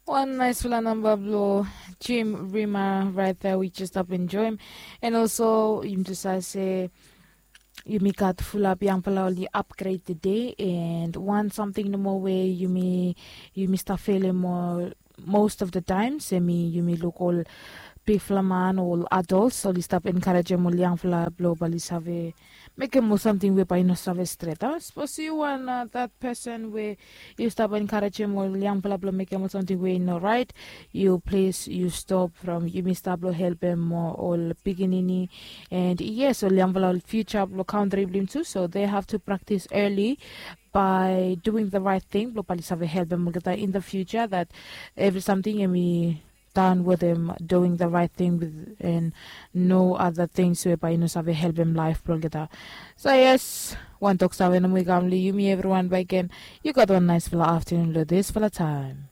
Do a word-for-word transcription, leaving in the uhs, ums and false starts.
Wan naispela namba blong Jim Rima right there, we just stop enjoy him. And also yumi just save se yumi gat fulap yangpela oli upgrade today, and wan samting nomo we yumi yumi stap felim ol most of the times, em i yumi luk ol bigfala man, ol adults oli stap encouragem ol yangfala blong bali save mekem ol samting we bai i no save stret a. Sapos yu wan uh, that person we yu stap encouragem ol yangfala blong mekem ol samting we i no right, yu plis yu stop from yumi stap blong helpem ol pikinini. And yes, ol yangfala ol future blong country blong tu, so they have to practice early by doing the right thing blong bali save helpem olgeta in the future, that every something em i done with him doing the right thing with, and no other things we bai i no save helpem laif blong olgeta. So yes, wan tok save nomo i kam long yumi everyone by again. You got one nice fella afternoon lo this fella time.